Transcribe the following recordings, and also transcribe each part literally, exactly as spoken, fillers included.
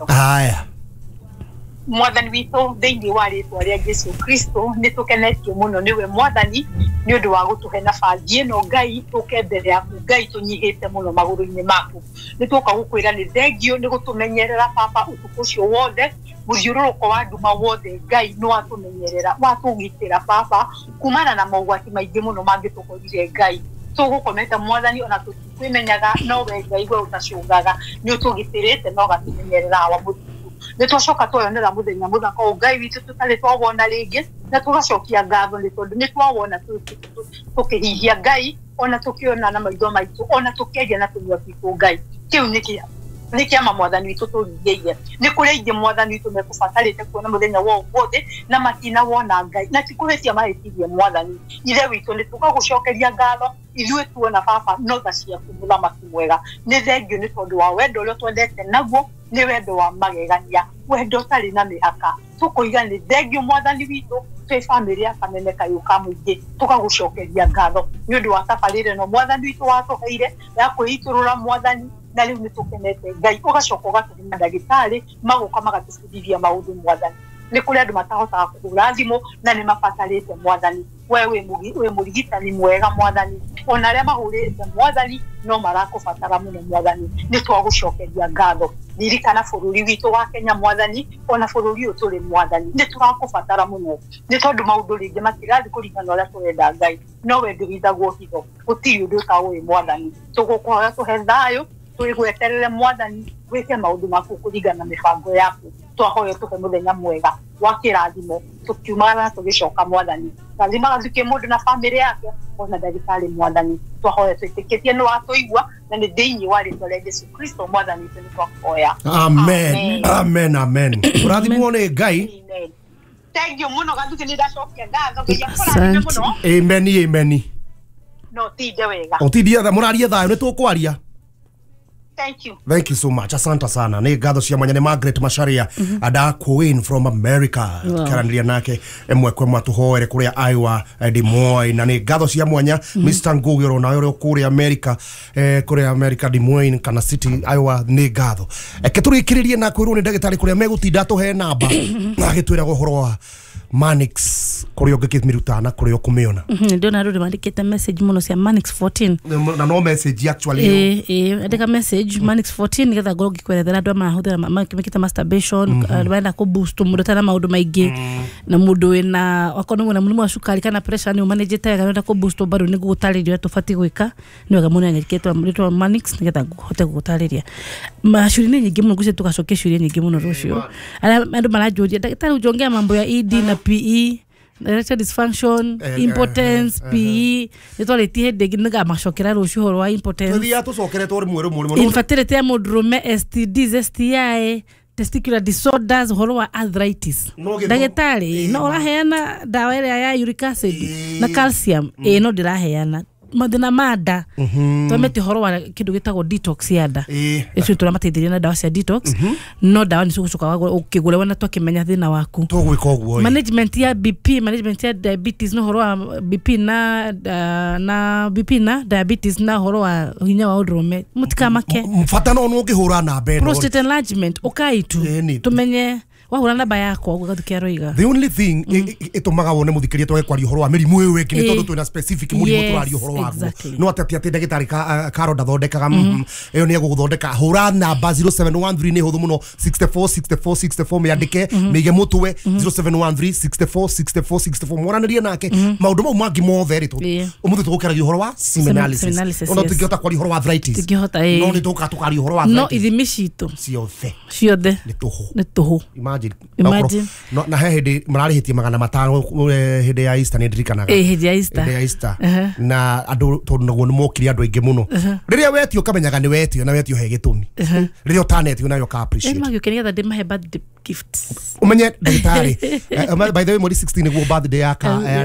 Haya. Mwathani witũ thĩinĩ wa rĩtwa rĩa Jesu Kristo nĩ tũkenetio mũno nĩwe Mwathani nĩ ũndũ wa gũtũhe nabathi ĩno Ngai tũke mbere yaku Ngai tũnyihĩte mũno magũrũ-inĩ maku. Nĩ tũka gũkwĩra nĩ thengio nĩ gũtũmenyerera Baba ũtukũ ũcio wothe mũthiũrũrũko wa nduma wothe Ngai nĩ watũmenyerera watũgitĩra Baba kumana na mogwati maingĩ mũno mangĩtũkorire Ngai. Tũgũkomete Mwathani ona tũtikwimenyaga no we Ngai we ũtacũngaga nĩ ũtũgitĩrĩte na ũgatũmenyerera awa mũthingu. Nĩ twacoka tweyonera mũthenya mũthaka ũyũ Ngai witũ tũtarĩ twawona rĩngĩ na tũgacokia ngatho nĩ tondũ nĩ twawona tũkĩhihia Ngai ona tũkĩona na maitho maitũ ona tũkĩaria na tũnua twitũ Ngai. Kĩu nĩ kĩa nĩ kĩama Mwathani witũ tũringĩire. Nĩ kũrĩ aingĩ Mwathani witũ mekũbatarĩte kuona mũthenya wa ũmũthĩ na matinawona Ngai na ti kũhĩtia mahĩtirie Mwathani. Ithe witũ nĩ tũgagũcokeria ngatho ithuĩ tuona Baba no tha ciaku mũthamaki mwega. Nĩ thengio nĩ tondũ wa wendo ũrĩa twendete naguo nĩ wendo wa magegania wendo ũtarĩ na mĩhaka. Tũkoiga nĩ thengio Mwathani witũ twĩ bamĩrĩ ya Kameme Kayũ ka Mũingĩ tũgagũcokeria ngatho nĩ ũndũ wa tabarĩra ĩno Mwathani witũ watũheire ya kwĩitũrũra Mwathani na rĩu nĩ tũkenete Ngai. Ũgacoka ũgatũhe mandagĩtarĩ magoka magatũbundithia maũndũ Mwathani. Nĩ kũrĩ andũ matahotaga kũhũra thimũ na nĩ mabatarĩte Mwathani. We wĩ mũrigitani mwega Mwathani ona arĩa mahũrĩte Mwathani no marakũbatara mũno Mwathani. Nĩ twagũcokeria ngatho. Ririkana bũrũri witũ wa Kenya Mwathani ona bũrũri ũyũ tũrĩ Mwathani nĩ tũrakũbatara mũno nĩ tondũ maũndũ rĩngĩ matirathiĩ kũringana na ũrĩa tũrenda Ngai no we ndũhithagwo hitho gũtirĩ ũndũ ũtaũĩ Mwathani. Tũgũkũhoya tũhe thayũ twĩgweterere Mwathani wĩke maũndũ maku kũringana na mĩbango yaku. Twahoya tũhe mũthenya mwega wa kĩrathimo tũkiumagara na tũgĩcoka Mwathani. Rathimaga thukie mũndũ na bamĩrĩ yake ona ndagĩtarĩ Mwathani. Twahoya twĩtĩkĩtie nĩ watũigua na nĩ thĩinĩ wa rĩtwa rĩa Jesu Kristo Mwathani witũ nĩ twahoya. Amen. Amen amen. Ũrathimwo nĩ Ngai. Thank you mũno Gathuki nĩ ndacokia ngatho Ngai akũrathime mũno. Amen amen. No tinde wega. Ũtindie mũrarie thayũ nĩ tũkwaria. Thank you. Thank you so much. Asante sana. Ni ngatho cia mwanya ni Margaret Macharia mm -hmm. Ada Queen from America. Wow. Tukaranĩria nake emwe kwa ĩmwe tũhoere kũrĩa Iowa Des Moines na nĩ ngatho cia mwanya mm -hmm. Mister Ngugi oro nawe ũrĩa kũrĩa America eh, kũrĩa America Des Moines kana City Iowa nĩ ngatho. Eke tũrĩkĩrĩrie na kwĩrwo nĩ ndagĩtarĩ kũrĩa megũtinda tũhe namba na agĩtwĩraga ũhoro wa Manix kũrĩa ũngĩkĩmĩruta na kũrĩa ũkũmĩona. Ndĩrona andũ nĩmandĩkĩte message mũno cia Manix fourteen na no message actually eh eh andĩka message Manix fourteen nĩgetha ngorwo ngĩkwerethera andũ marahũthĩra mekĩte masturbation andũ marenda kũ boost mũndũ ũtarĩ na maũndũ maingĩ na mũndũ wĩna okorwo nĩ mũrimũ wa cukari kana pressure nĩ ũmanĩnjĩte wega nĩũrenda kũ boost bado nĩ ngũgũtarĩria ũrĩa tũbatiĩ gwĩka. Nĩ wega mũno anyandĩkĩte rĩtwa Manix nĩgetha hote gũgũtarĩria. Maciũria nĩ nyingĩ mũno ngwĩciria tũgacokia ciũria nyingĩ mũno rũciũ. Arĩa andũ maranjũria ndagĩtarĩ ũnjongea mambo ya E D na P E erectile dysfunction, uh, impotence, uh, uh, P E nĩ twarĩtie hĩndĩ ĩngĩ nĩngamacokera rũciũ ũhoro wa impotence. Tũthiaga tũcokeretwo rĩmwe rĩmwe rĩmwe. Infertility ya mũndũrũme, S T Ds, S T I, testicular disorders, ũhoro wa arthritis. Ndagĩtarĩ no ũraheana ndawa ĩrĩa ya uric acid na calcium ĩĩ no ndĩraheana mathĩna ma nda. Twamete ũhoro wa kĩndũ gĩtagwo detox ya nda icio tũramateithĩrĩria na ndawa cia detox no ndawa nĩ cigũcoka ũkĩgũra wona twakĩmenya thĩna waku tũgwĩka ũguo. Management ya B P, management ya diabetes na ũhoro wa B P na na B P na diabetes na ũhoro wa hinya wa ũndũrũme mũtikamake bata no ũngĩhũra namba ĩno. Prostate enlargement ũkai tu tũmenye wahũra namba yakwa ũguo Gathuki aroiga. The only thing ĩtũmaga wone mũthikĩria twage kwaria ũhoro wa mĩrimũ ĩyo ĩngĩ nĩ tondũ twĩna specific mũrimũ tũraria ũhoro waguo. No atĩ atĩ ndagĩtarĩ Karo ndathondekaga ĩyo nĩ egũgũthondeka. Hũra namba zero seven one three nĩ hũthũ mũno sixty four sixty four sixty four mĩandĩke mĩige mũtwe zero seven one three sixty four sixty four sixty four mwaranĩrie nake maũndũ mau mangĩ mothe rĩ ũmũthĩ tũgũkĩaragia ũhoro wa semen analysis ona tũngĩhota kwaria ũhoro wa arthritis no nĩ tũgũka tũkaria ũhoro wa arthritis no ithimi citũ ciothe ciothe nĩ tũhũ nĩ tũhũ. Imagine. No, na he hĩndĩ mararĩhĩtie magana matano hĩndĩ ya Easter nĩ ndirikanaga. Eh hĩndĩ ya Easter. Hĩndĩ ya Easter. Na andũ tondũ naguo nĩ mokire andũ aingĩ mũno. Rĩrĩa wetio ũkamenyaga nĩ wetio na wetio he gĩtũmi. Rĩrĩa ũtanetio nayo ka appreciate. Eh magĩũke nĩgetha ndĩmahe birthday gift. Ũmenye ndagĩtarĩ by the way mweri sixteen nĩguo birthday ya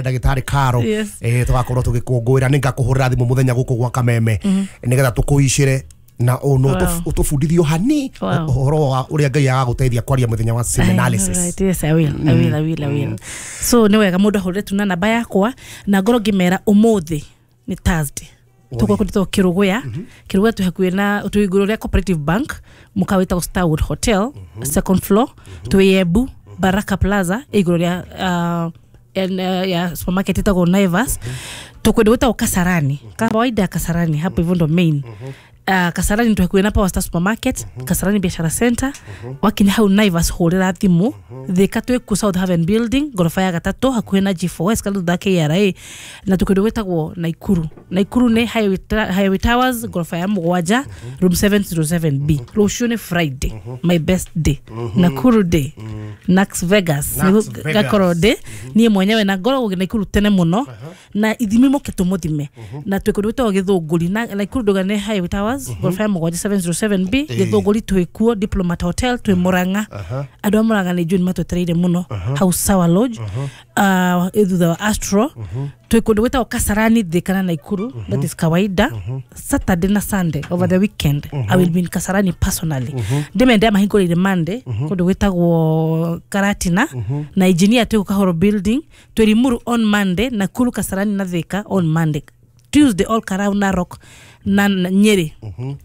ndagĩtarĩ Karo. Eh tũgakorwo tũgĩkũngũĩra nĩ ngakũhũrĩra thimũ mũthenya gũkũ gwa Kameme nĩgetha tũkũicĩre na ono utufundithio hani uhoro wa uria Ngai agagũteithia kwaria muthenya wa semen analysis. Right, yes, I will. I will, I will, I will. So nĩ wega mũndũ ahũrĩre tu na namba yakwa na ngorwo ngĩmera ũmũthĩ nĩ Thursday. Tũgũkorwo Kĩrũgũya. Kĩrũgũya twĩ hakuhĩ na twĩ igũrũ rĩa Cooperative Bank, mũkawa wĩtagwo Starwood Hotel, second floor. Twĩ Embu, Baraka Plaza, igũrũ rĩa uh, en, uh, ya supermarket ĩtagwo Naivas. Tũkwenda gwĩtagwo Kasarani, kawaida ya Kasarani hapo hivyo ndo main. Uh, Kasarani twĩ hakuhĩ na Power Star Supermarket, Kasarani Biashara Center. Wakinya hau Naivas hũrĩra thimũ. Thika twĩ ku South Haven Building, ngoroba ya gatatũ, hakuhĩ na G four S kana thutha wa K R A. Na tũkĩndũ gwĩtagwo Naikuru. Naikuru nĩ Highway, Highway Towers, ngoroba ya mũgwanja, room seven zero seven B. Rũciũ nĩ Friday, my best day. Nakuru day. Nax Vegas. Nax Vegas. Gakorwo ndĩ niĩ mwenyewe na ngoragwo Naikuru tene mũno, na ithimi moke tũmũthime. Na twĩ kũndũ gwĩtagwo Gĩthũngũri. Na Naikuru ndauga nĩ Highway Towers, ngoroba ya mũgwanja seven zero seven B. Gĩthũngũri twĩ kuo, Diplomat Hotel, twĩ Murang'a. Andũ a Murang'a nĩ njũĩ nĩ matwetereire mũno, hau Sawa Lodge, uh, thutha wa Astro. Twĩ kũndũ gwĩtagwo Kasarani, Thika na Naikuru. That is kawaida. Saturday na Sunday over the weekend I will be in Kasarani personally. Ndĩmende mahingũrĩire Monday kũndũ gwĩtagwo Karatina, na engineer twĩ Kahoro Building. Twĩ Limuru on Monday, Nakuru, Kasarani na Thika on Monday. Tuesday all Karau, Narok na Nyeri.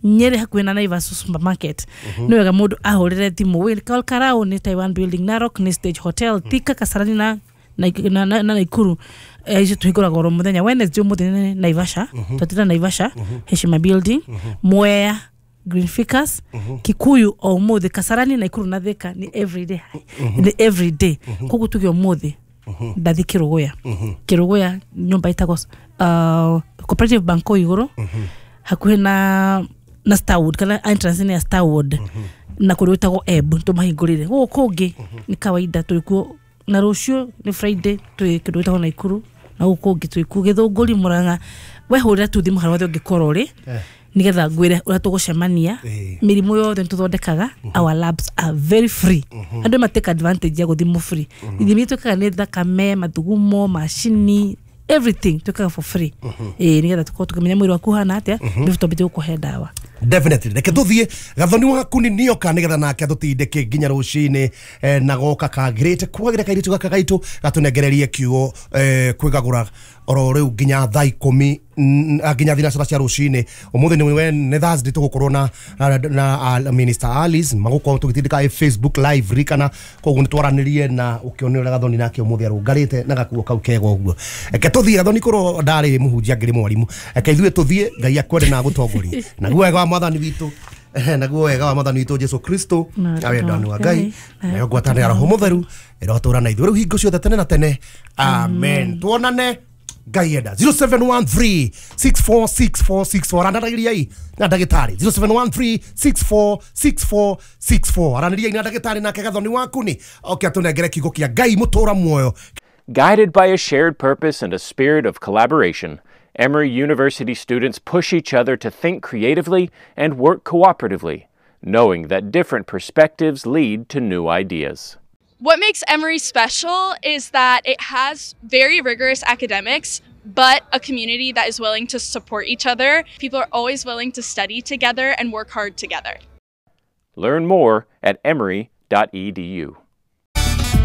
Nyeri hakuhĩ na Naivas Supermarket. Nĩ wega mũndũ ahũrĩre thimũ. Wĩ All Karau nĩ Taiwan Building, Narok nĩ Stage Hotel, Thika, Kasarani na na na, na Naikuru. Icio tũhingũraga oro mũthenya. Wednesday ũmũthĩ nĩ Naivasha, twatĩra Naivasha, Heshima Building, Mwea, Green Ficus, Kikuyu o ũmũthĩ, Kasarani, Naikuru na Thika ni everyday. Ni everyday. Koguo tuge ũmũthĩ ndathi Kĩrũgũya. Kĩrũgũya nyũmba ĩtagwo uh, Cooperative Bank kũu igũrũ, hakuhĩ na na Starwood, kana entrance nĩ ya Starwood, na kũndũ gwĩtagwo Ebb tũmahingũrĩre. Gũkũ kũngĩ nĩ kawaida twĩ kuo, na rũciũ nĩ Friday twĩ kĩndũ gwĩtagwo Naikuru, na gũkũ kũngĩ twĩ kuo Gĩthũngũri, Murang'a. We hũrĩra tu thimũ harĩa hothe ũngĩkorwo ũrĩ, nĩgetha ngwĩre ũrĩa tũgũcemania. Mĩrimũ yothe nĩtũthondekaga. Our labs are very free. Andũ ma take advantage ya gũthimwo free. Ithimi twĩkaga nĩ thakame, mathugumo, macini, everything twĩkaga for free. Ĩĩ, nĩgetha tũkorwo tũkĩmenya mwĩrĩ waku ũhana atĩa, nĩguo twambĩtie gũkũhe ndawa. Definitely. Reke tũthiĩ Gathoni waku nĩ nioka nĩgetha nake atũtindĩke nginya rũcinĩ, eh, na goka kagĩrĩte kwagĩra kairĩtu gaka gaitũ gatũnengererie kiugo, eh, kwĩgagũra oro rĩu nginya thaa ikũmi nginya thinacara cia rũcinĩ. Ũmũthĩ nĩ nĩ Thursday tũgũkorwo na na, na Minister Alice magũkorwo tũgĩtindĩka Facebook live rikana, koguo nĩ twaranĩrie na ũkĩone ũrĩa Gathoni nake ũmũthĩ arũngarĩte na gakuo kau kega ũguo. Reke tũthiĩ Gathoni, korwo ndarĩ mũhunjia ngĩrĩ mwarimũ. Reke ithuĩ tũthiĩ, Ngai akwende na agũtongorie. Naguo wega wa Mwathani witũ, naguo wega wa Mwathani witũ Jesu Kristo, na wendani wa Ngai, nayo ngwatanĩro ya Roho Mũtheru ĩrotũũra na ithuĩ rĩu hingo ciothe tene na tene. Amen. Tuonane Ngai enda. zero seven one three six four six four six four. Aranĩriai na ndagĩtarĩ zero seven one three six four six four six four. Aranĩriai na ndagĩtarĩ nake Gathoni waku nĩ oke atũnengere kiugo kĩa Ngai mũtũũra muoyo. Guided by a shared purpose and a spirit of collaboration, Emory University students push each other to think creatively and work cooperatively, knowing that different perspectives lead to new ideas. What makes Emory special is that it has very rigorous academics, but a community that is willing to support each other. People are always willing to study together and work hard together. Learn more at emory dot e d u.